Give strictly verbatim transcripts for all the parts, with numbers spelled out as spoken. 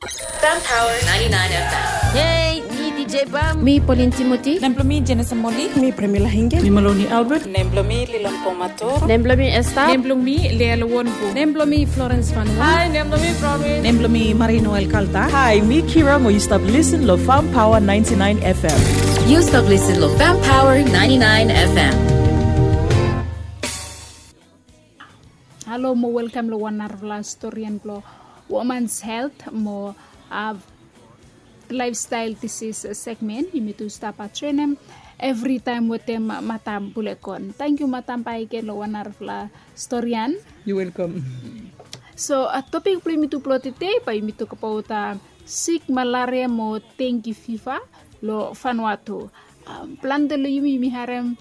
Fam Power ninety-nine F M. Hey, mi D J Bam. Mi Pauline Timothy. Nem blo mi Jenison Moli. Mi Premila Hinge. Mi Maloney Albert. Nem blo mi Lilon Pomator. Nem blo mi Esther. Nem blo mi Leal Wonbu. Nem blo mi Florence Van Won. Hi, nem blo mi Promise. Nem blo mi Marino Alcalta. Hi, mi Kira mo yu stap listen lo Fam Power ninety-nine F M. Yu stap listen lo Fam Power ninety-nine F M. Halo mo welkam lo wan narafala storian blo Women's Health mo, a, Lifestyle Disease segment. Yumi tu stap joenem evritaem wetem Matam Bulekon. Tangkiu Matam bakegen lo wan narafala storian. Yu welkam. So, a, topik blo yumi tu blo tede bae yumi tokbaot, a, sik malaria mo dengue fiva lo Vanuatu. A, plante lo yumi, yumi harem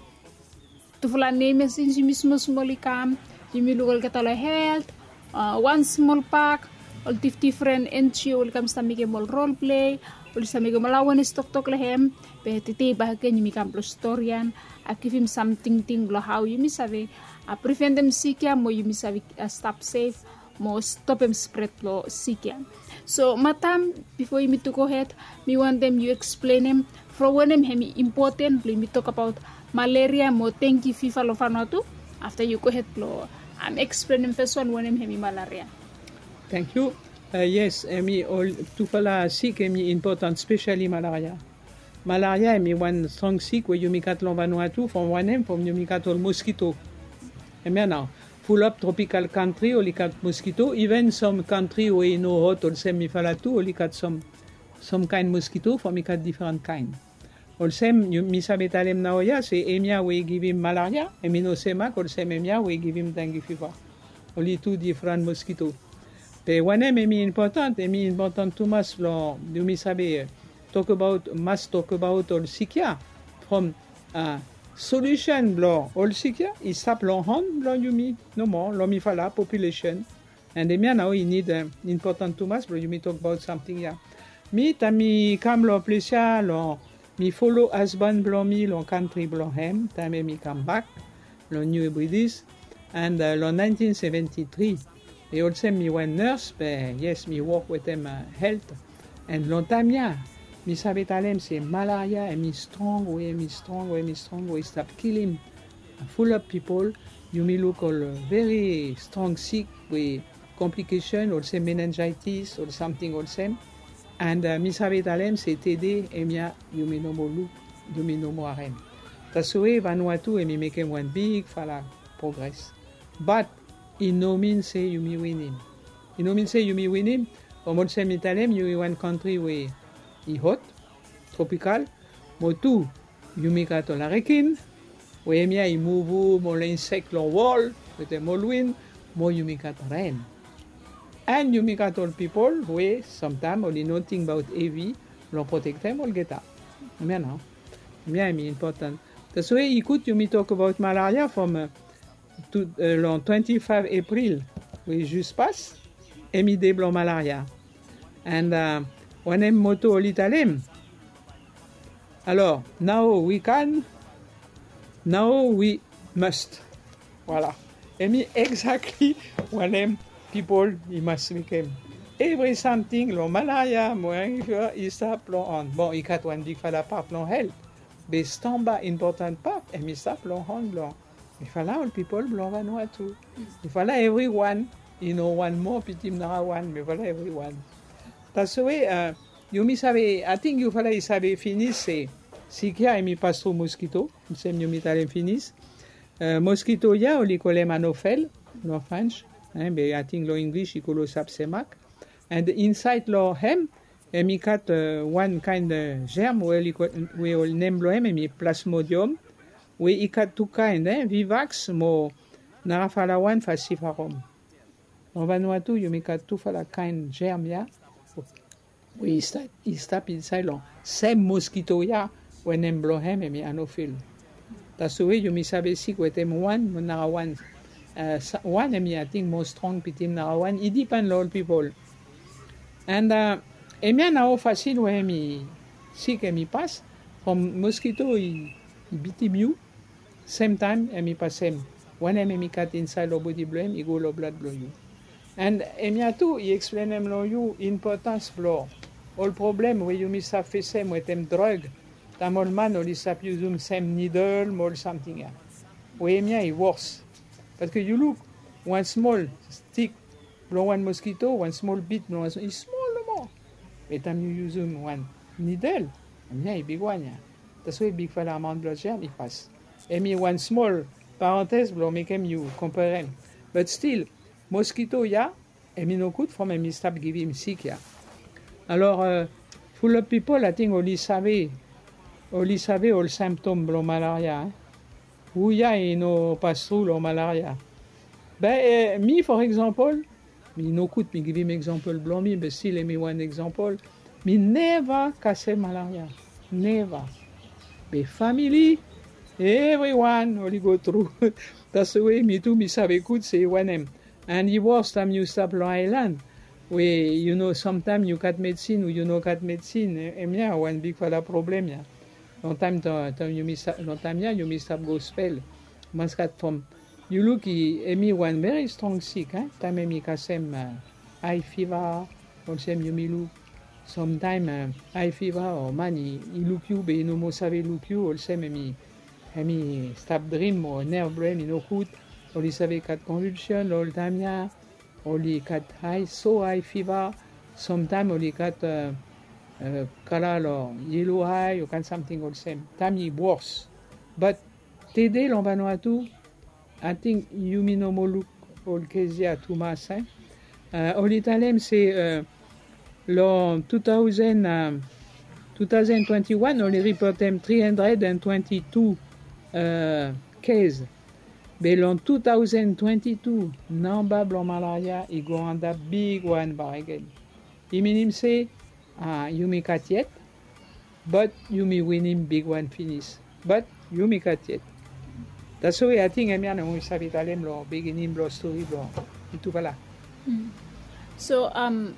tufala nem ya sins yumi smosmol i kam. Yumi luk olgeta lo helt, a, wan smol pak, ol difdifren N G O oli kam stap mekem ol rol plei, oli stap mekem ol awenes toktok lo hem. Be tede bakegen yumi kam blo storian, a, givim sam tingting blo hao yumi save, a, priventem sik ya mo yumi save, a, stap sef mo stopem spred blo sik ya. So Matam, bifo yumi tu gohed, mi wantem yu eksplenem from wanem hem i impoten blo yumi tokbaot malaria mo dengue fiva lo Vanuatu. Afta yu gohed blo, am, eksplenem fes wan wanem hem i malaria. Tangkiu. A, yes, hem i ol tufala sik hem i impoten, spesali malaria. Malaria hem i wan strong sik we yumi gat lo Vanuatu from wanem, from yumi gat ol moskito. Hemia nao. Fulap tropikal kantri oli gat moskito, iven sam kantri we i no hot olsem mifala tu oli gat sam, sam kaen moskito from i gat difren kaen. Olsem yu, mi save talem naoia se hemia we i givim malaria hem i no semak olsem hemia we i givim dengue fiva. Oli tu difren moskito. Be wanem hem i impoten, hem i impoten tumas lo yumi save tokbaot, mas tokbaot ol sik ya from, a, solusen blo ol sik ya i stap lo han blo yumi nomo, lo mifala populesen. And hemia nao i nid, a, impoten tumas blo yumi tokbaot samting ya. Mi taem mi kam lo ples ya lo, mi folo hasban blo mi lo kantri blo hem taem hem i kambak lo New Hebrides. And, a, lo nineteen seventy-three, be olsem mi wan nurse, be yes, mi wok wetem, a, helt. And lo taem ya mi save talem se malaria hem i strong we, hem i strong we, hem i strong we i stap kilim fulap pipol. Yumi luk ol veri strong sik we komplikesen olsem meningitis ol samting olsem. And, a, mi save talem se tede hemia yumi no moa luk, yumi no moa harem. Taswe Vanuatu hem i mekem wan bigfala progres. Bat i no min se yumi winim. I no min se yumi winim from olsem mi talem yumi wan kantri we i hot, tropikal, mo tu yumi gat ol arekin we hemia i muvum ol insek lo wol wetem ol win, mo yumi gat ren. And yumi gat ol pipol we samtaem oli no tingbaot hevi lo protektem olgeta. Hemia nao, hemia hem i impoten. Taswe i gud yumi tokbaot malaria from, a, tu, a, lo twenty-five April we i jus pas, hem i dei blo malaria. And, a, wanem moto oli talem? Alor, now we can, now we must. Voilà. Hem i exactly wanem pipol i mas mekem. Evri samting lo malaria mo i stap lo han. Bon, i gat wan bigfala pat lo helt. Be stamba impoten pat hem i stap lo han blo mifala ol pipol blo Vanuatu. Mifala evriwan, i no wan moa pitim narawan, mifala evriwan. Taswe, a, yumi save, ating yufala i save finis se sik ya hem i pas tru moskito, olsem yumi talem finis. A, moskito ya oli kolem anofel lo French, en, be ating lo English i go lo sapsemak. And insaed lo hem hem i gat, a, wan kaen, a, germ we oli ko-, we ol nem blo hem hem i plasmodium, we i gat tu kaen, en, vivax mo narafala wan, falciparum. Lo Vanuatu yumi gat tufala kaen germ ya we i stap, i stap insaed lo sem moskito ya we nem blo hem hem i anofel. Taswe yumi save sik wetem wan mo narawan, a, sa-, wan hem i ating moa strong pitim narawan, i dipen lo ol pipol. And, a, hemia nao fasin we hem i sik hem i pas from moskito i bitim yu, semtaem hem i pasem wanem hem i gat insaed lo bodi blo hem i go lo blad blo yu. And hemia tu i eksplenem long yu inpotans blong ol problem we yumi save fesem wetem drug. Taem ol man oli save yusum sem nidel mo ol samting ya, we hemia i wors. Paske yu luk, wan smol stik blong wan moskito, wan smol bit blong wan smol i smol nomo. Be taem yu yusum wan nidel, hemia i bigwan ya. Taswe bigfala amaon blong jam i pas. Hemi wan smol parantez blong mekem yu komparem. But stil, moskito ya, hemi no gud from hemi stap givim sik ya. Alor, fulap pipol ating oli save, oli save ol simptom blong malaria. Hu ya i no pas tru long malaria? Be mi, for example, mi no gud mi givim example blong mi, be stil hemi wan example. Mi neva kasem malaria. Neva. Be famili, evriwan oli go tru. Taswe mi tu mi save gud se wanem. And i wors taem yu stap long aelan, we yu no, samtaem yu gat medsin o yu no gat medsin. Hemia wan bigfala problem ya. Long taem, taem yumi stap long taem ya yumi stap go spel. Mas gat from, yu luk, hemi wan veri strong sik. Taem hemi kasem ae fiva, olsem yumi luk. Samtaem ae fiva o man i luk yu be i no moa save luk yu, olsem hemi, hemi stap drim o nerv blong hem i no gud. Oli save gat konvilsion long ol taem ya. Oli gat ae so, ae fiva. Samtaem oli gat kala long yelo ae o kaen samting olsem. Taem i wors. But tede long Vanuatu, ating yumi no moa luk ol kes ya tumas. Oli talem se long tu taosen, tu taosen twenti wan oli ripotem tri handred and twenti tu kes. Be long tu taosen twenti tu namba blong malaria i go antap bigwan bakegen. I minim se yumi gat yet, but yumi winim bigwan finis. But yumi gat yet. Taswe ating hemia nao mi save talem long beginning blong stori blong mitufala. So,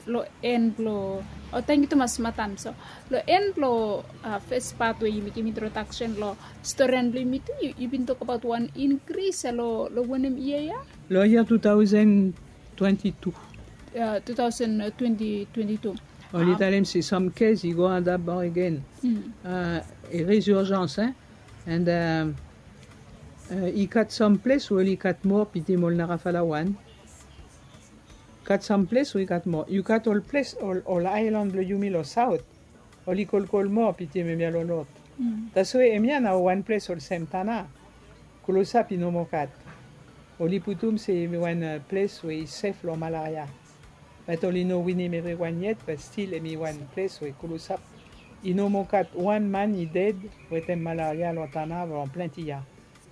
long en blong, o, tangkiu tumas matam. So long en blong fes pat we yumi givim introdaksen long storian blong yumi tu, yu bin tokbaot wan inkris long wanem yia ya? Long yia tu taosen twenti tu. Oli talem se sam kes i go antap bakegen. Resurjans. And i gat sam ples we oli gat moa pitim ol narafala wan. Gat sam ples we i gat moa. Yu gat ol ples, ol aelan blong yumi long saot, oli kolkol moa pitim hemia long not. Taswe hemia nao wan ples olsem Tanna, klosap i no moa gat. Oli putum se hemi wan ples we i sef long malaria. Bat oli no winim evriwan yet, bat stil hemi wan ples we klosap i no moa gat wan man i ded wetem malaria long Tanna long plante yia.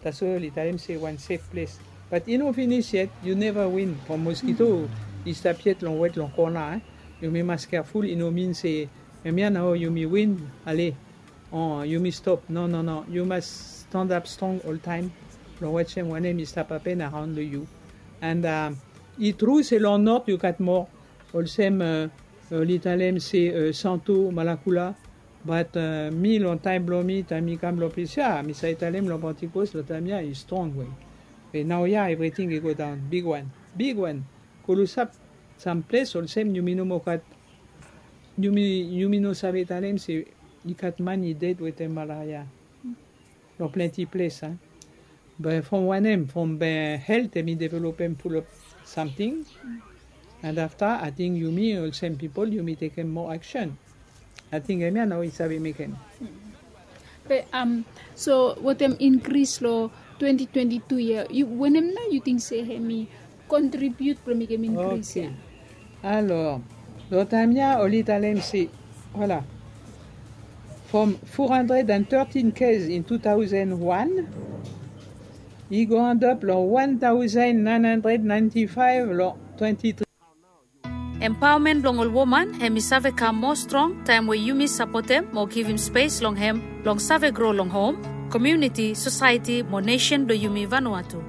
Taswe oli talem se wan sef ples. Bat i no finis yet. Yu neva win from moskito i stap yet long wet long kona. Yumi mas keaful. I no min se hemia nao yumi win, ale, o yumi stop. No, no, no. Yu mas stanap strong oltaem long wantem wanem i stap hapen araon long yu. And i tru se long not yu gat moa. Olsem oli talem se Santo, Malakula. Bat mi long taem blong mi, taem mi kam long ples ya, mi save talem long Pentikos long taem ya i strong we. Be naoia evriting i go daon bigwan, bigwan. Klosap sam ples olsem yumi no moa gat, yumi, yumi no save talem se i gat man i ded wetem malaria long plante ples. Be from wanem? From be helt hemi developem fulap samting. And afta ating yumi olsem pipol yumi tekem moa aksen. Ating hemia nao i save mekem. Be so wetem inkris long twenti twenti tu ya, wanem nao yu ting se hemi kontribiut blong mekem inkris ya? Alor long taem ya oli talem se, voila, from four hundred and thirteen kes in two thousand one, i go antap long one thousand nine hundred ninety-five long twenty-three. Empaomen blong ol woman hemi save kam moa strong taem we yumi sapotem mo givim spes long hem blong save gro long hom, komuniti, sosaeti mo nesen blong yumi Vanuatu.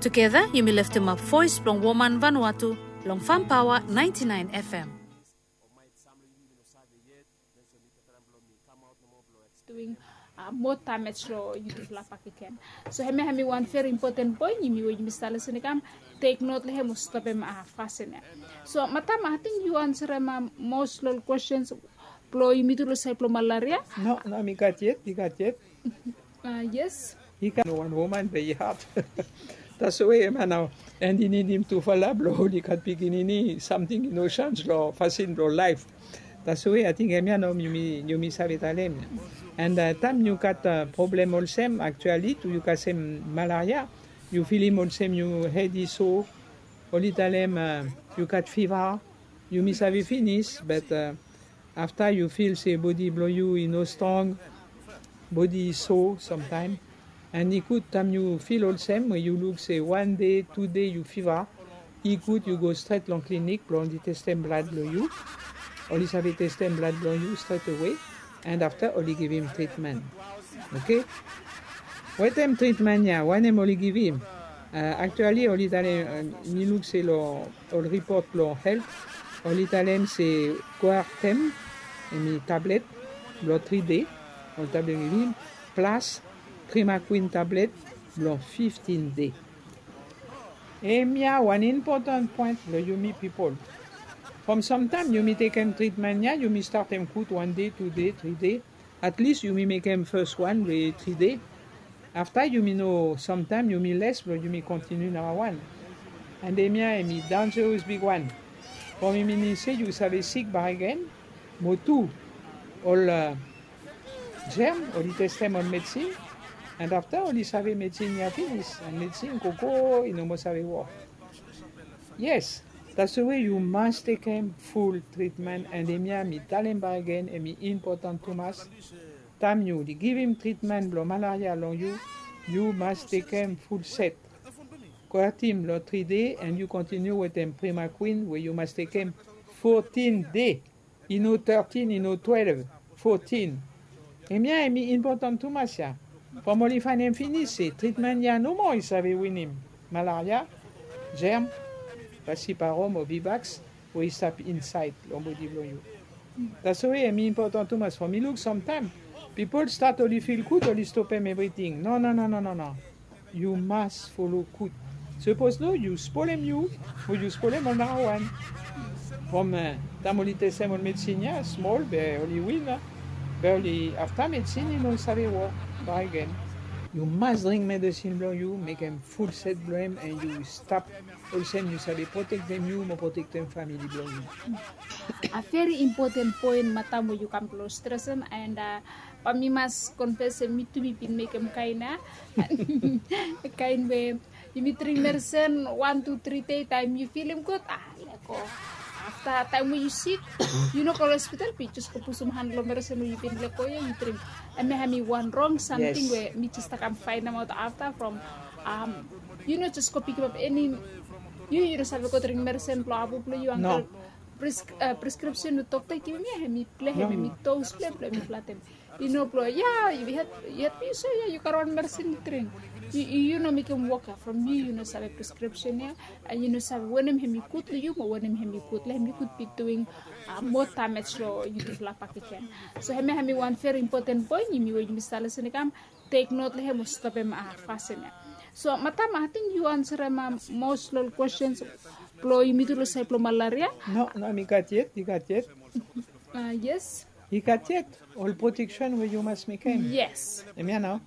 Tugeta yumi leftemap voes blong woman Vanuatu long Fam Paoa ninety-nine F M. Doing Mo damej long yutufala bakegen. So hemia hemi wan veri impoten poen, yumi we yumi stap lesen i kam tek not long hem o stopem fasin ya. So madam, ating yu ansarem mos long ol kwestens blong yumi tu long saed blong malaria? No, no, mi gat yet, mi gat yet. Yes. I gat no wan woman be i hat. Taswe hemia nao, and i nidim tufala blong oli gat pikinini, samting i no sans long fasin blong laef. Taswe ating hemia nao yumi, yumi save talem. And taem yu gat problem olsem, aktuali tu yu kasem malaria, yu filim olsem yu hed i so, oli talem yu gat fiva, yumi save finis, but afta yu fil se bodi blong yu i no strong, bodi i so samtaem. And i gud taem yu fil olsem, we yu luk se wan dei, tu dei yu fiva, i gud yu go stret long klinik blong oli testem blad blong yu. Oli save testem blad blong yu stret awe, and afta oli givim tritmen. Oke? Wetem tritmen ya, wanem oli givim? Aktuali oli talem, mi luk se long ol ripot blong helt, oli talem se Coartem, hemi tablet blong tri dei, oli tablet givim, plas Primaquine tablet blong fiftin dei. Hemia wan impoten poen blong yumi pipol. From samtaem yumi tekem tritmen ya, yumi statem gud wan dei, tu dei, tri dei. Atlis yumi mekem fes wan we tri dei. Afta yumi no, samtaem yumi les blong yumi kontiniu namba wan. And hemia hemi danjeros bigwan. From i minim se yu save sik bakegen. Mo tu, ol jerm, oli testem ol medsin, and afta oli save medsin ya finis, and medsin gogo i no moa save wok. Yes, taswe yu mas tekem ful tritmen, and hemia mi talem bakegen, hemi impoten tumas. Taem yu oli givim tritmen blong malaria long yu, yu mas tekem ful set. Coartem long tri dei, and yu kontiniu wetem Primaquine we yu mas tekem fotin dei. I no tetin, i no twelef, fotin. Hemia hemi impoten tumas ya. From oli faenem finis se tritmen ya nomo i save winim malaria, jerm, falciparum o vivax we i stap insaed long bodi blong yu. Taswe hemi impoten tumas. From mi luk samtaem pipol stat oli fil gud, oli stopem evriting. No, no, no, no, no, no. Yu mas folo gud. Sapos no, yu spolem yu, o yu spolem ol narawan. From taem oli testem ol medsin ya smol, be oli win, be oli afta medsin i no save wok bakegen. Yu mas dring medsin blong yu, mekem ful set blong hem, and yu stap olsem yu save protektem yu mo protektem famili blong yu. A veri impoten poen, madam, we yu kam blong stresem, and bae mi mas konfes se mi tu mi bin mekem kaen ya. Kaen we yumi dring medsen wan, tu, tri dei, taem yu filim gud, a, lego. Afta taem we yu sik, yu no go long hospital, be yu jes go pusum han long medsen we yu bin lego ya, yu dring. Hemia hemi wan rong samting we mi jes stap kam faenemaot afta from, yu no jes go pikimap eni, yu, yu no save go dring medsen blong abu blong yu, angkel. Preskripsen we dokta i givim ya, hemi blong hem, hemi dos blong hem, blong hem i flatem. Yu no blong, ya, yu hed, yu hed mi so ya, yu gat wan medsin yu dring. Yu, yu no mekem wok ya from yu, yu no save preskripsen ya, and yu no save wanem hemi gud long yu mo wanem hemi gud long hem. Yu gud bi duing mo damej long yutufala bakegen. So hemia hemi wan veri impoten poen, yumi we yumi stap lesen i kam tek not long hem o stopem fasin ya. So madam, ating yu ansarem mos long ol kwestens blong yumi tu long saed blong malaria? No, no, mi gat yet, mi gat yet. Yes. I gat yet ol proteksen we yu mas mekem. Yes. Hemia nao.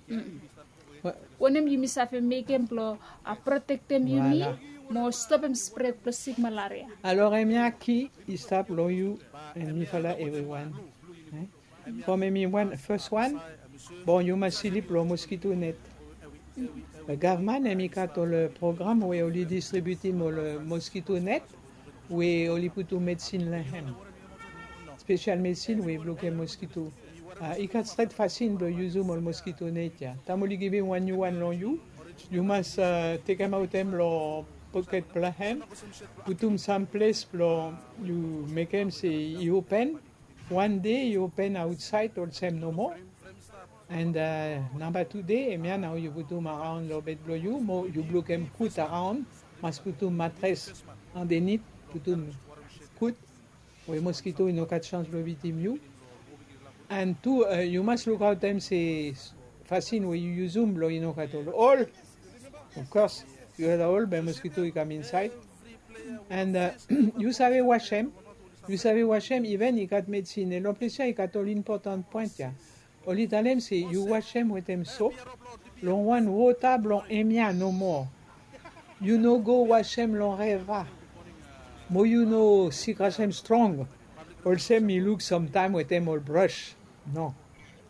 Wanem yumi save mekem blong protektem yumi mo stopem spred blong sik malaria? Alor hemia ki i stap long yu and mifala evriwan. From hemi wan, fes wan, bon, yu mas slip long moskito net. Gavman hemi gat ol program we oli distribiutim ol moskito net we oli putum medsin long hem. Spesial medsin we i blokem moskito. I gat stret fasin blong yusum ol moskito net ya. Taem oli givim wan niu wan long yu, yu mas tekemaot hem long poket blong hem, putum sam ples blong yu mekem se i open. Wan dei i open aotsaed olsem nomo. And namba tu dei, hemia nao yu putum araon long bed blong yu, mo yu blokem gud araon, mas putum matres andenit, putum gud, we moskito i no gat sans blong bitim yu. And tu, yu mas lukaotem se fasin we yu yusum blong i no gat ol ol. Of course, yu gat ol be moskito i kam insaed. And yu save wasem, yu save wasem, iven i gat medisin. Long ples ya i gat ol impotan poen ya. Oli talem se yu wasem wetem sop long wan wota blong hemia nomo. Yu no go wasem long reva. Mo yu no sikrasem strong olsem mi luk samtaem wetem ol bros. No.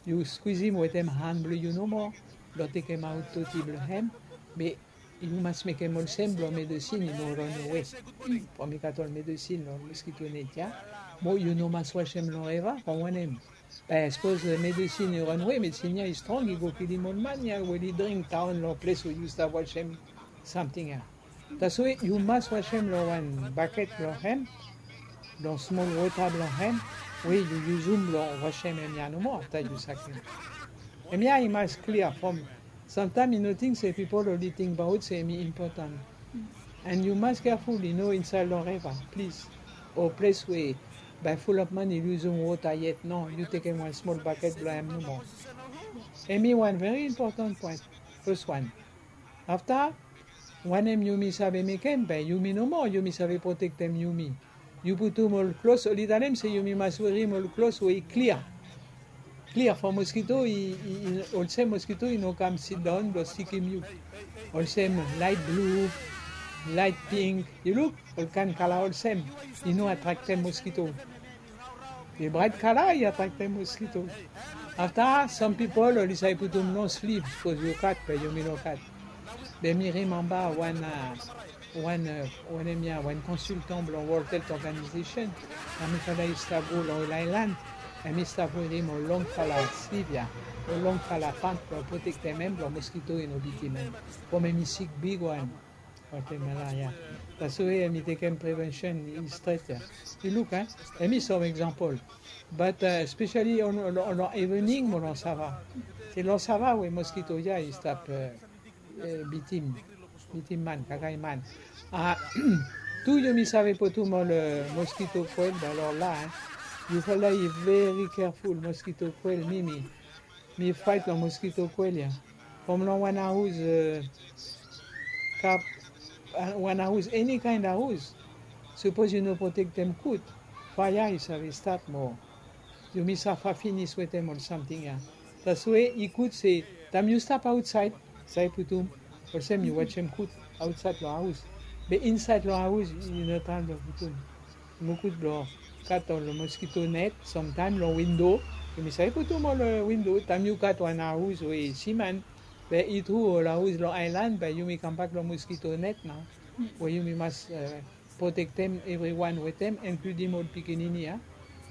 Yu skwizim wetem han blong yu nomo blong tekemaot doti blong hem. Be yu mas mekem olsem blong medisin i no ranawe. From i gat ol medisin long moskito net ya. Mo yu no mas wasem long reva from wanem? Be sapos medisin i ranawe, medisin ya i strong, i go kilim ol man ya we oli dring daon long ples we yu stap wasem samting ya. Taswe yu mas wasem long wan baket blong hem, long smol wota blong hem we yu yusum blong wasem hemia nomo afta yu sakem. Hemia i mas klia from samtaem i no ting se pipol oli tingbaot se hemi impotan. And yu mas keaful i no insaed long reva, plis, o ples we bae fulap man i yusum wota yet. No, yu tekem wan smol baket blong hem nomo. Hemi wan veri impotan poen. Fes wan. Afta, wanem yumi save mekem? Be yumi nomo yumi save protektem yumi. Yu putum ol klos, oli talem se yumi mas werim ol klos we i klia. Klia from moskito i, i, i olsem moskito i no kam sidaon blong sikim yu. Olsem laet blu, laet pink, yu luk, ol kaen kala olsem i no atraktem moskito. Be braet kala i atraktem moskito. Afta, sam pipol oli save putum long sliv sapos yu gat be yumi no gat. Be mi rimemba wan, a, wan, a, wanem ya, wan konsiltan blong World Health Organization, a, mifala i stap go long ol aelan, a, mi stap werim ol longfala sliv ya, ol longfala pant blong protektem hem blong moskito i no bitim hem. From hemi sik bigwan. Watemala ya. Taswe hemi tekem prevention i stret ya. Yu luk, a, hemi sam eksampol. But, a, especially long, long, long evening mo long sava. Se long sava we moskito ya i stap, a, e, bitim, bitim man, kakae man. A, tu yumi save putum ol, e, moskito koel, be long la, e. Yufala i veri keaful, moskito koel, mi, mi, mi faet long moskito koel ya. From long wan aos, e, kap, a, wan aos, eni kaen aos. Sapos yu no protektem gud, faea i save stat mo yumi safa finis wetem ol samting ya. Taswe i gud se taem yu stap aotsaed, save putum, olsem yu wasem gud aotsaed long aos. Be insaed long aos yu no trae blong putum. Mo gud blong gat ol moskito net, samtaem long windo. Yumi save putum ol, e, windo taem yu gat wan aos we siman. Be i tru ol aos long aelan be yumi kambak long moskito net nao. We yumi mas, e, protektem evriwan wetem, inkludim ol pikinini ya.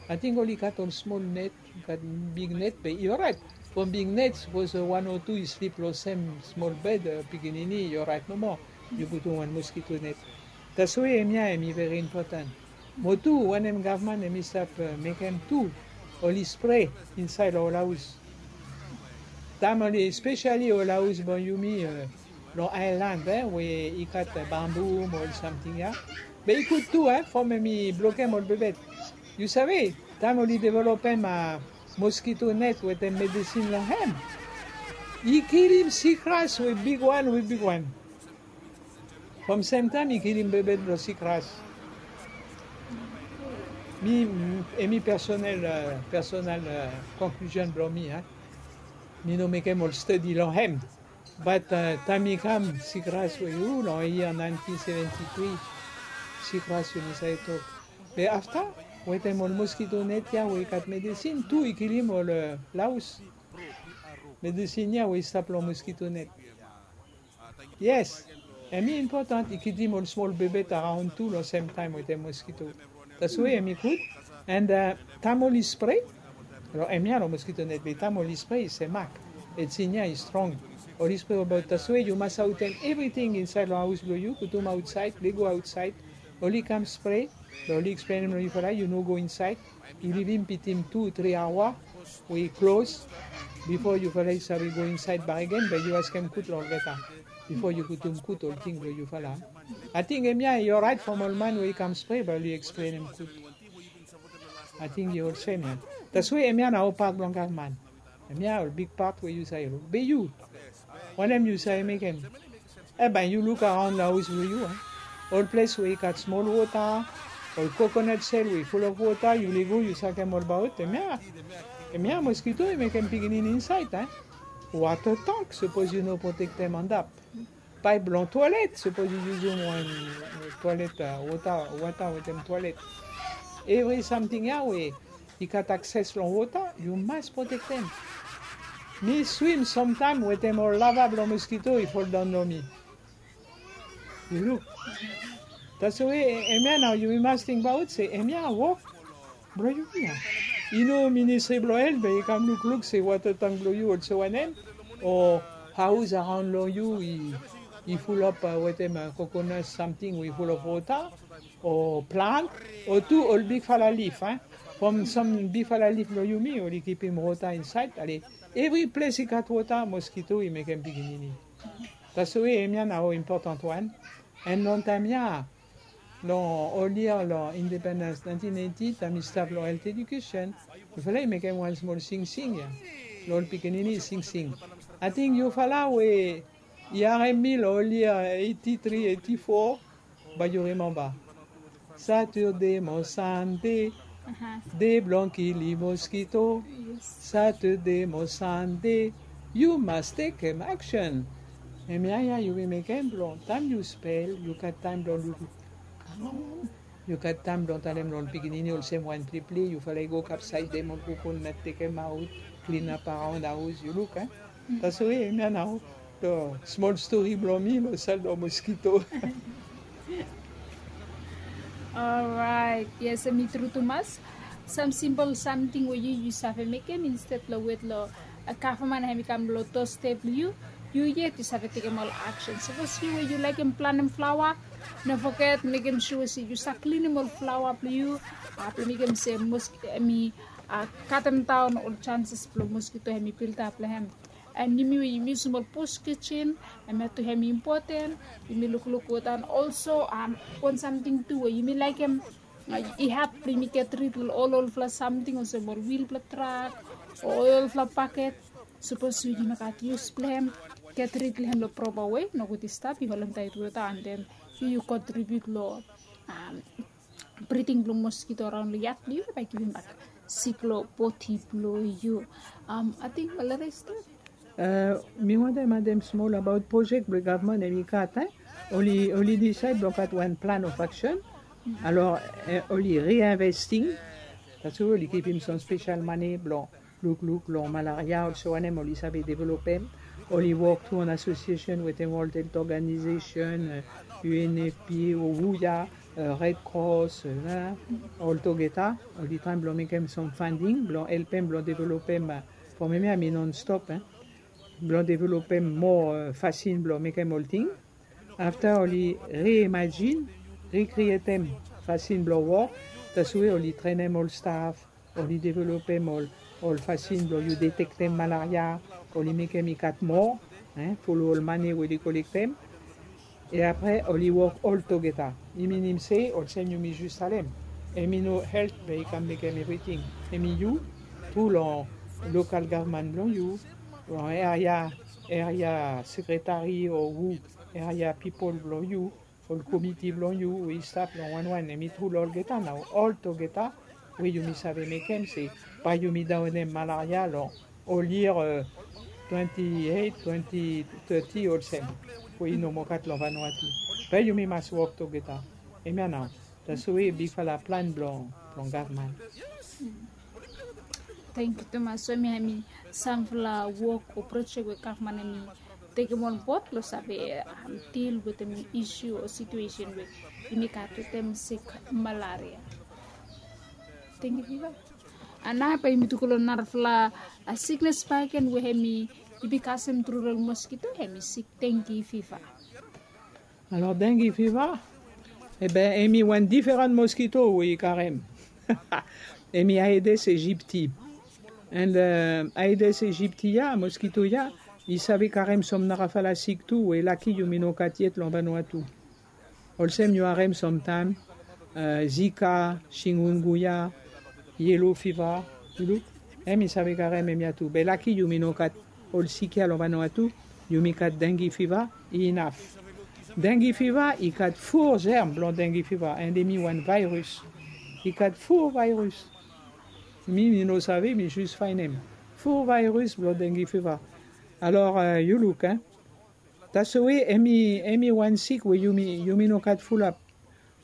Ating oli gat ol smol net, gat big net be i oraet. From big net, sapos wan o tu i slip long sem smol bed, e, pikinini i oraet nomo. Yu putum wan moskito net. Taswe hemia hemi veri impotan. Mo tu wanem gavman hemi stap, e, mekem tu, oli spre insaed long ol aos. Taem oli, espeseli ol aos blong yumi, e, long aelan, e, we i gat, e, bambu mo ol samting ya. Be i gud tu, e, from hemi blokem ol bebet. Yu save, taem oli developem, a, moskito net wetem medisin long hem, i kilim sikras we bigwan, we bigwan. From semtaem i kilim bebet blong sikras. Mi, hemi personal, e, personal, e, konklusion blong mi, a. Mi no mekem ol stadi long hem. But, e, taem i kam sikras we, u, long yia nineteen seventy-three, sikras yu no save tok. Be afta, wetem ol moskito net ya we i gat medisin, tu i kilim ol, e, laos. Medisin ya we i stap long moskito net. Yes, hemi impotan i kilim ol smol bebet araon tu long semtaem wetem moskito. Taswe hemi gud. And, e, taem oli spre, long hemia long moskito net be taem oli spre i se mak. Medisin ya i strong. Oli spre abaot, taswe yu mas aotem evriting insaed long aos blong yu, putum aotsaed, lego aotsaed. Oli kam spre, be oli eksplenem long yufala, yu no go insaed. Yu livim bitim tu, tri aoa we i klos bifo yufala i save go insaed bakegen, be yu askem gud long olgeta bifo yu putum gud ol ting blong yufala. Ating hemia i oraet from ol man we i kam spre, be oli eksplenem gud. Ating yu olsem ya. Taswe hemia nao pat blong gavman. Hemia ol big pat we yu save luk. Be yu, wanem yu save mekem? Hemia yu luk araon long haos blong yu a, ol ples we i gat smol wota, ol kokonat sel we i fulop wota, yu lego yu sakem olbaot. Hemia, hemia moskito i mekem pikinini insaed a. Wota tank, sapos yu no protektem antap. Paep blong toelet, sapos yu yusum wan toelet, wota, wota wetem toelet. Evri samting ya we i gat akses long wota, yu mas protektem. Mi swim samtaem wetem ol lava blong moskito i foldaon long mi. Yu luk. Taswe hemia nao yumi mas tingbaot se hemia wok blong yumi ya. I no ministri blong helt be i kam lukluk se wota tank blong yu olsem wanem, o haos araon long yu i, i fulop wetem kokonat samting we i fulop wota, o plant, o tu ol bigfala lif a. From sam bigfala lif blong yumi oli kipim wota insaed. Ale, evri ples i gat wota, moskito i mekem pikinini. Taswe hemia nao impotan wan. An long taem ya, long ol yia long independens naentin eiti, taem mi stap long helt edikesen, mifala i mekem wan smol singsing ya long ol pikinini i singsing. Ating yufala we i harem mi long ol yia eiti tri, eiti fo, bae yu rimemba. Satade mo Sande, de blong kilim moskito. Satade mo Sande, yu mas tekem aksen. Hemia ya yumi mekem blong taem yu spel, yu gat taem blong luk. Yu gat taem blong talem long pikinini olsem wan pliple, yufala i go kapsaedem ol kokonat, tekemaot, klinap araon haos, yu luk a. Taswe hemia nao long smol stori blong mi long sel blong moskito. Oraet, yes, hemi tru tumas. Sam simpol samting we yu, yu save mekem insted long wet long gavman hemi kam long dosstep blong yu, yu yet yu save tekem ol aksen. Sapos yu we yu laekem planem flaoa, no foget mekem sua se yu save klinim ol flaoa blong yu, blong mekem se moskito hemi katemdaon ol janses blong moskito hemi bilap long hem. An yumi we yumi yusum ol bus kijen, hemia tu hemi impoten. Yumi lukluk weta, an olso wan samting tu we yumi laekem i hat blong yumi get rid long ol olfala samting olsem ol wil blong trak o olfala baket. Sapos yu no gat yus blong hem, get rid long hem long propa wei, nogud i stap i holem taet weta, an den yu, yu kontribiut long briding blong moskito araon long yad blong yu, bae givim bak sik long bodi blong yu. Ating malaria i stap. Mi wantem adem smol abaot projek blong gavman hemi gat, e? Oli, oli disaed blong gat wan plan of aksen. Alor, oli reinvesting. Taswe oli givim sam spesel mane blong lukluk long malaria, olsem wanem oli save developem. Oli wok tu an asosiesen wetem World Health Organization, U N F P A, o WUYA, Red Cross, oltogeta. Oli traem blong mekem sam funding blong helpem blong developem, from hemia mi nonstop, e, blong developem moa fasin blong mekem olting. Afta oli reimajin, rikrietem fasin blong wok. Taswe oli trenem ol staf, oli developem ol, ol fasin blong yu detektem malaria, oli mekem i gat moa, e, folo ol mane we oli kolektem. E apre oli wok oltogeta. I minim se olsem yumi jes talem, hemi no helt be i kam mekem evriting. Hemi yu, tru long lokal gavman blong yu, long eria, eria sekretari o hu, eria pipol blong yu, ol komiti blong yu we i stap long wanwan, hemi tru long olgeta nao, oltogeta we yumi save mekem se bae yumi daonem malaria long ol yia twenti eit, twenti teti olsem, we i no moa gat long Vanuatu. Bae yumi mas wok togeta. Hemia nao. Taswe bigfala plan blong, blong gavman. Tangkiu tumas. So hemia hemi samfala wok o projek we gavman hemi tekem on bod blong save dil wetem isu o situesen we yumi gat wetem sik malaria. Dengue fiva. Nao bae yumi tu go long narafala siknes bakegen we hemi, i bin kasem tru long moskito, hemi sik dengue fiva. Alor dengue fiva, e ben, hemi wan diferan moskito we i karem. Hemi Aedes aegypti. And Aedes aegypti ya, moskito ya, i save karem sam narafala sik tu we laki yumi no gat yet long Vanuatu. Olsem yu harem samtaem, Zika, chikungunya, yellow fever, yu luk. Hemi save karem hemia tu. Be laki yumi no gat ol sik ya lo Vanuatu, yumi gat dengue fever, i inaf. Dengue fever i gat four germ blong dengue fever, and hemi wan virus. I gat four virus. Mi, mi no save, mi jus faenem. Four virus blong dengue fever. Alor, eh, yu luk, hein. That's the way, hemi, hemi wan sik we yumi, yumi no gat fulap.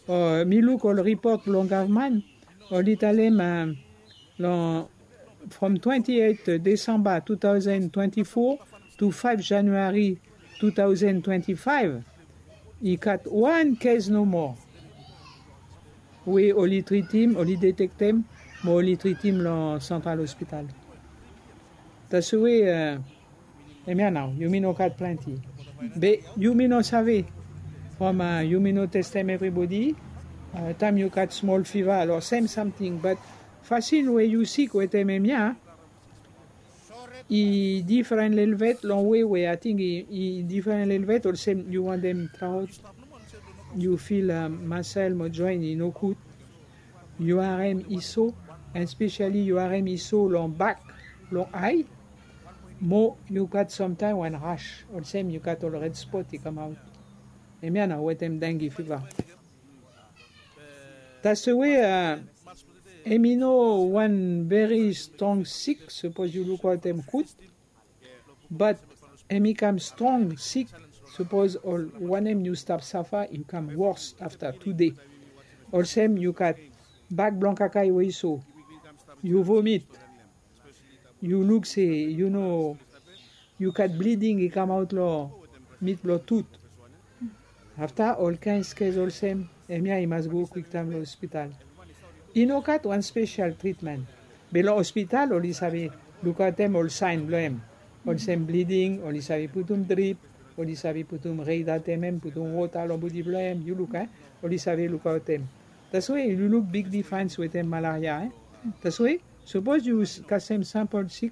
Eh, mi luk ol ripot blong gavman, oli talem, eh, long, from twenty-eight December two thousand twenty-four to five January two thousand twenty-five, i gat wan case nomo we oli tritem, oli detektem, mo oli tritem long Central Hospital. That's the way, eh, hemia nao, yumi no gat plante. Be yumi no save. From, eh, yumi no testem everybody. Eh, taem yu gat small fever, alor sem samting. But fasin we yu sik wetem hemia, i difren lelebet long way we, I think i, i difren lelebet, olsem yu wantem traot, yu feel, eh, masel mo joen i nogud. Yu harem i so, and specially yu harem i so long bak, long ae, mo yu gat samtaem wan rash, olsem yu gat ol red spot i kamaot. Hemia nao wetem dengue fever. That's the way, eh, hemi no wan very strong sik, sapos yu lukaotem gud. But hemi kam strong sik, sapos ol wanem yu stap safa, yu kam wors afta tu dei. Olsem yu gat bak blong kakae we i so, yu vomit, yu luk se yu no, yu gat bleeding i kamaot long mit blong tut. Afta ol kaen case olsem, hemia i mas go kwiktaem long hospital. I no gat wan spesial tritmen. Be long hospital oli save lukaotem ol saen blong hem. Olsem bleeding, oli save putum drip, oli save putum, reidatem hem, putum wota long bodi blong hem, yu luk, eh? Oli save lukaotem. That's why yu luk big difrens wetem malaria, eh? That's why, sapos yu s-, kasem sampol sik,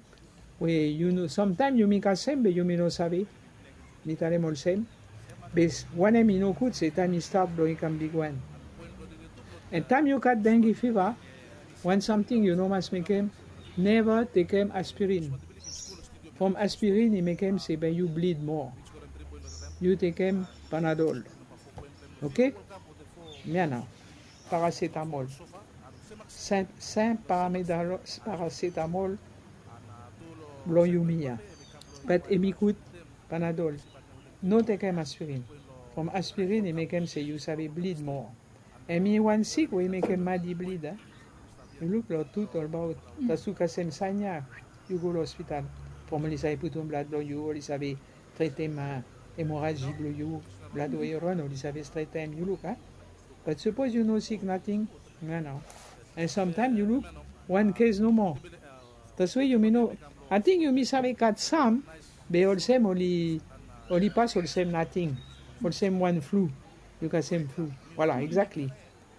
we yu no, samtaem yumi kasem be yumi no save. Mi talem olsem. Be s-, wanem i nogud se taem i stat blong i kam bigwan. And taem yu gat dengue fever, wan samting yu no mas mekem, neva tekem aspirin. From aspirin i mekem se bae yu bleed more. Yu tekem Panadol. Oke? Hemia nao. Paracetamol. Sen, sen paramedalo-, paracetamol blong yumi ya. But hemi gud, Panadol. No tekem aspirin. From aspirin i mekem se yu save bleed more. Hemi wan sik we i mekem mad i bleed, eh? Yu luk long tut olbaot. Taem yu kasem saen ya, yu go long hospital. From oli save putum blad blong yu, oli save tretem, eh, emoraji blong yu, blad we i ron, oli save tretem, yu luk, eh? But sapos yu no sik nating, no, no. And samtaem yu luk, wan case nomo. That's why yumi no, I think yumi save gat sam, be olsem oli, oli pas olsem nating. Olsem wan flu. Yu kasem flu. Voilà, exactly.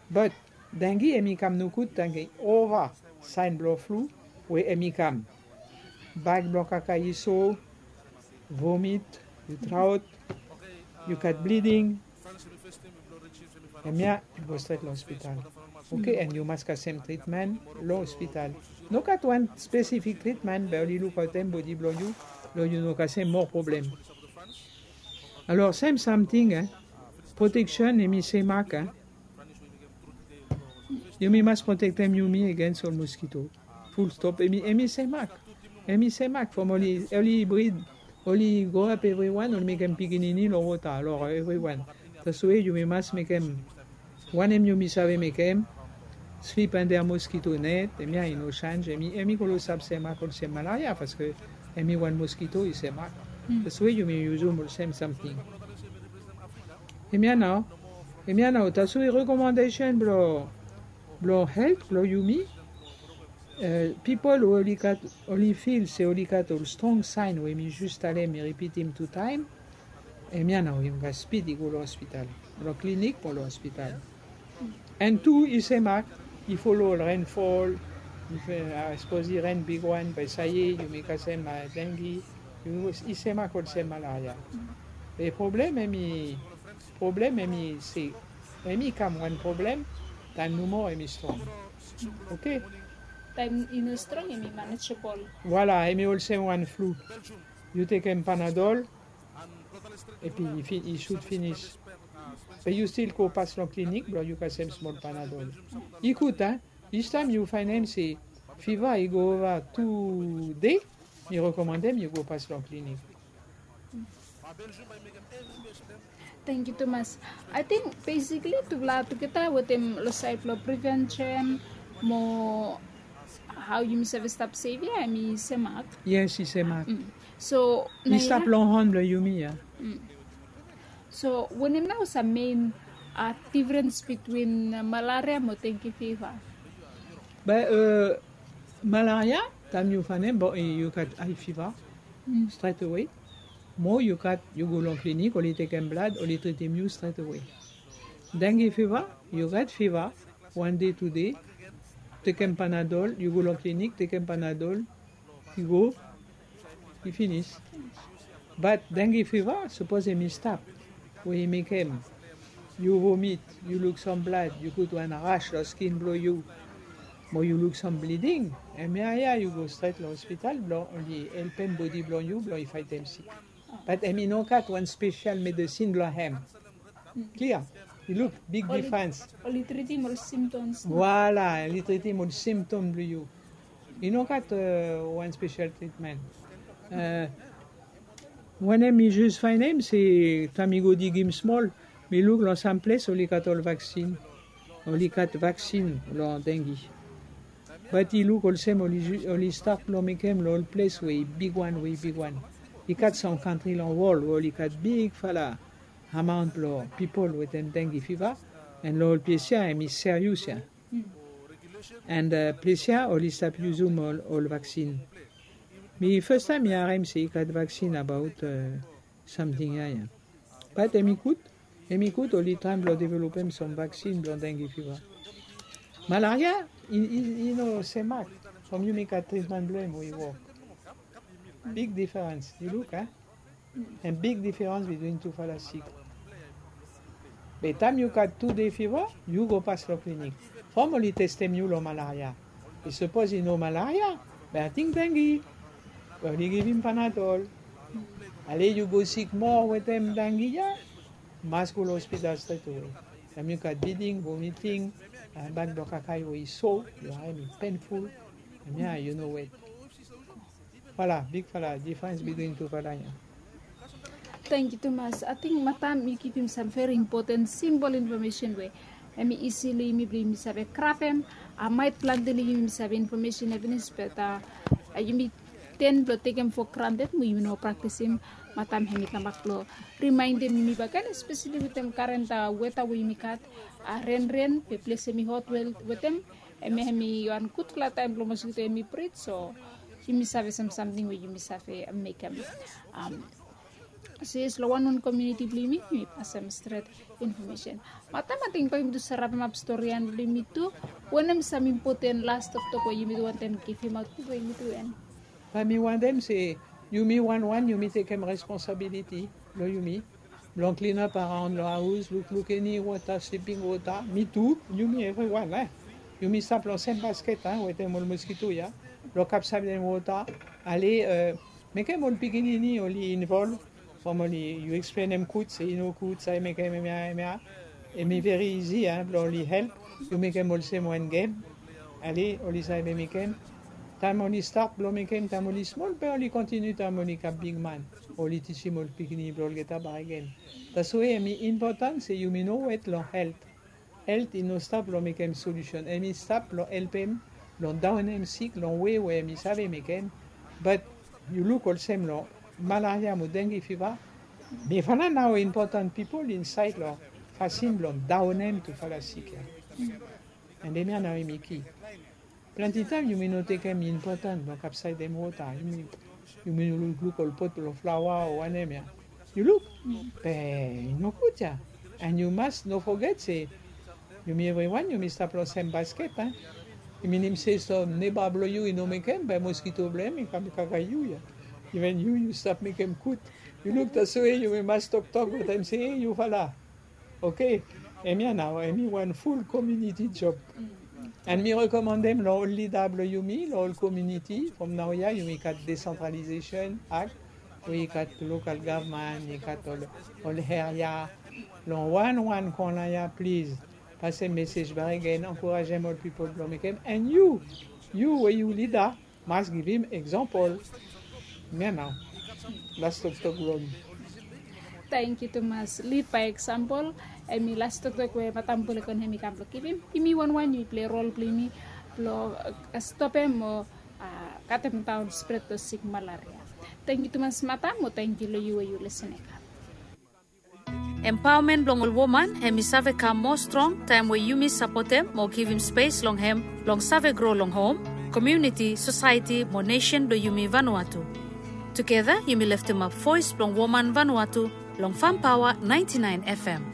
But dengue hemi kam nogud taem i ova saen blong flu we hemi kam. Bak blong kakae i so, vomit, yu traot, yu gat bleeding. Hemia, yu go stret long hospital. Oke, and yu mas kasem tritmen long hospital. No gat wan spesifik tritmen, be oli lukaotem bodi blong yu, long yu no kasem more problem. Alor, sem samting, eh, proteksen hemi semak, eh. Yumi mas protektem yumi against ol moskito. Full stop, hemi, hemi semak. Hemi semak, from oli, oli brid, oli grow up evriwan, oli mekem pikinini long wota, alor, eh, evriwan. That's why yumi mas mekem, wanem yumi save mekem, sleep under mosquito net, hemia i no sanj, hemi, hemi kolo save semak olsem malaria, paske hemi wan moskito i semak. That's why yumi yusum olsem samting. Hemia nao, hemia nao, that's why rekomandesen blong, blong helt, blong yumi, eh, pipol we oli gat, oli fil se oli gat ol strong saen we mi jus talem, mi ripitim tu taem, hemia nao yumi mas spid i go long hospital, long klinik mo long hospital. And tu i semak, i folo ol renfol, i fe, ah, sapos i ren bigwan, bae sae yumi kasem, ah, dengue, i semak olsem malaria. Be problem hemi, problem hemi se, hemi kam wan problem taem nomo hemi strong. Oke? Taem i no strong, hemi manageable. Voilà, hemi olsem wan flu. Yu tekem Panadol, epi i fi-, i sut finis. Be yu stil go pas long klinik blong yu kasem smol Panadol. I gud, a? Each taem yu faenem se fiva i go ova tu dei, mi rekomandem yu go pas long klinik. Tangkiu tumas. Ating besikli tufala tugeta wetem long saed blong prevention mo hao yumi save stap sef ya, hemi semak. Yes, i semak. So mi stap long hon blong yumi ya. So wanem nao sam mein difrens bitwin malaria mo dengue fiva? Be malaria, taem yu faenem, bon, yu gat high fever, stret awe. Mo yu gat, yu go long klinik, oli tekem blad, oli tritem yu stret awe. Dengue fiva, yu gat fiva, wan dei, tu dei, tekem Panadol, yu go long klinik, tekem Panadol, i go, i finis. Bat dengue fiva, sapos hemi stap, we i mekem yu vomit, yu luk sam blad, yu gat wan rash long skin blong yu, mo yu luk sam bleeding, hemia ya yu go stret long hospital blong oli helpem bodi blong yu blong i faetem sik. Bat hemi no gat wan spesial medesin blong hem. Klia? I luk big difrens. Oli tritim ol symptoms. Voilà, oli tritim ol symptom blong yu. I no gat wan spesial tritmen. Wanem mi jis faenem se taem mi go digim smol, mi luk long sam ples oli gat ol vaksin. Oli gat vaksin long dengue. Bat i luk olsem oli, oli stat long mekem long ol ples we i bigwan, we i bigwan. I gat sam kantri long wol we oli gat bigfala amaon blong pipol wetem dengue fiva, and long ol ples ya hemi serious ya. And ples ya oli stap yusum ol, ol vaksin. Mi fastaem mi harem se i gat vaksin abaot samting ya ya. Bat hemi gud, hemi gud oli traem blong developem sam vaksin blong dengue fiva. Malaria i, i, i no semak from yumi gat tritmen blong hem we i wok. Big difrens, yu luk, a? And big difrens bitwin tufala sik. Be taem yu gat tu dei fiva, yu go pas long klinik. From oli testem yu long malaria. I sapos i no malaria, be ating dengue. Be oli givim Panadol. Ale yu go sik moa wetem dengue ya, mas go long hospital stret awe. Taem yu gat bleeding, vomiting, bag blong kakae we i so, yu harem i painful. Hemia yu no wet. Voilà, bigfala difrens bitwin tufala ya. Tangkiu tumas. Ating madam yu givim sam veri impoten simpol infomesen we hemi isi long yumi blong yumi save grabem. Maet plante long yumi save infomesen ya finis, bat yumi ten blong tekem fo granted mo yumi no praktisim. Madam hemi kambak blong rimaendem yumi bakegen, espeseli wetem karen weta we yumi gat, renren, be ples hemi hot wel wetem. Hemia hemi wan gudfala taem blong moskito hemi brid, so yumi save sam samting we yumi save mekem. Since long wanwan komuniti blong yumi, yumi pasem stret infomesen. Madam, ating bae yumi tu sarapemap storian blong yumi tu. Wanem sam impoten las toktok we yumi tu wantem givimaot bifo yumi tu en? Bae mi wantem se yumi wanwan yumi tekem responsabiliti blong yumi blong klinap araon long haos, lukluk eni wota, sliping wota. Mi tu, yumi evriwan, a? Yumi stap long sem basket, a, wetem ol moskito ya, blong kapsem wota. Ale, mekem ol pikinini oli involv. From oli, yu eksplenem gud se i no gud, save mekem hemia, hemia. Hemi veri isi, a, blong oli help. Yu mekem olsem wan gem. Ale oli save mekem. Taem oli stat blong mekem taem oli smol, be oli kontiniu taem oli kam bigman. Oli tisim ol pikinini blong olgeta bakegen. Taswe hemi impoten se yumi no wet long helt. Helt i no stap blong mekem solusen. Hemi stap blong helpem blong daonem sik long wei we hemi save mekem. Bat yu luk olsem long malaria mo dengue fiva, mifala nao impoten pipol insaed long fasin blong daonem tufala sik ya. And hemia nao hemi ki. Plante taem yumi no tekem impoten blong kapsaedem wota. Yumi, yumi lukluk ol pot blong flaoa o wanem ya. Yu luk? Be i no gud ya. And yu mas no foget se yumi evriwan yumi stap long sem basket, a? I minim se sam neba blong yu i no mekem, be moskito blong hem i kam kakae yu ya. Iven yu, yu stap mekem gud. Yu luk, taswe yumi mas toktok wetem se, e, yufala. Oke, hemia nao hemi wan ful komuniti job. And mi rekomandem long ol lida blong yumi long ol kominiti from naoia yumi gat desentralizesen ak we i gat lokal gavman i gat ol ol heria long wan wan kona ya plis. Pase mesej barigen ankourajem ol pipol blong mekem and yu yu we yu lida mas givim eksampol. Mia nao las toktok blong mi. Tangkiu tumas lid bai eksampol. Em i las toktok we matam bulekon hem i kam blong givim yumi wanwan yumi pilei rol blong yumi blong stopem o katem daon spret long sik malaria. Tangkiu tumas matam o tangkiu long yu we yu lesen e kam. Empaomen blong ol woman hem i save kam moa strong taem we yumi sapotem mo givim spes long hem long save gro long hom, komiuniti, sosaeti mo nesen blong yumi vanua tu. Tugeta yumi leftemap voes blong woman vanua tu long fampaoa naenti naen fm.